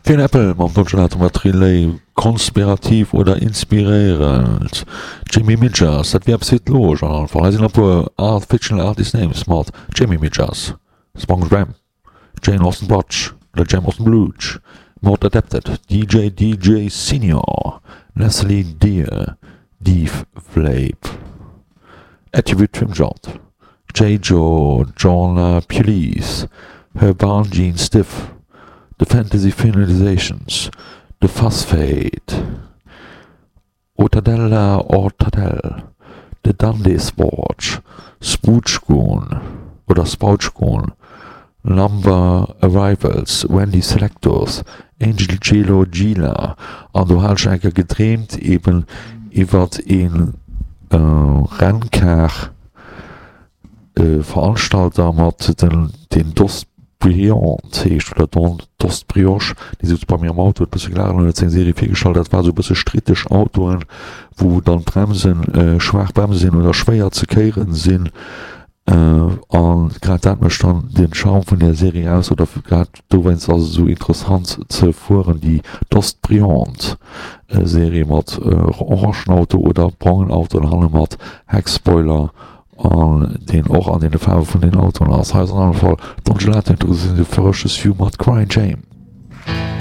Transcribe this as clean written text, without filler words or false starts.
Fiona Apple mam Don Gelato mat Relay, konspirativ oder inspiréierend? Jamie Midgers, dat wier eppes fir d'Loge an allem Fall. Hei sinn e puer Art Fictional Artist Names mat Jamie Midgers, Sponge Ram, Jane Austen Butch oder Jane Austen Bluch, Maud Adapted, DJ DJ Senior, Leslie Deer, Deef Flape, Attribute Trimjot, J-Jo, Jorna Pulice, Herban Jean Stiff, The Fantasy Finalizations, The Phosphate, Otadella Ortadell, The Dundee Sporch, Spoochgoon oder Spoutchgoon, Lumber Arrivals, Wendy Selectos, Angel Gelo Gila an do hat ech eng Kéier gedreemt eben iwwert ee Renncar Veranstalter mat den deen Dost Briand heescht oder Don Dost Brioche, dee souz bei mir am Auto, huet e bësse gelaacht an huet seng Serie virgestallt. Dat war esou e bësse stritteg Autoen, wou dann d'Bremsen schwaach Bremse sinn oder schwéier ze kéieren sinn. An grad dat mécht dann den Charme vun där Serie aus, oder grad dowéinst ass et esou interessant ze fueren, déi Dost Briand Serie mat orangen Auto oder brongen Auto an hanne mat Heckspoiler an deen och an deene Faarwe vun den Autoen ass. Hei ass an alle Fall Don Gelato, de Ferocious Few mat Crying Shame.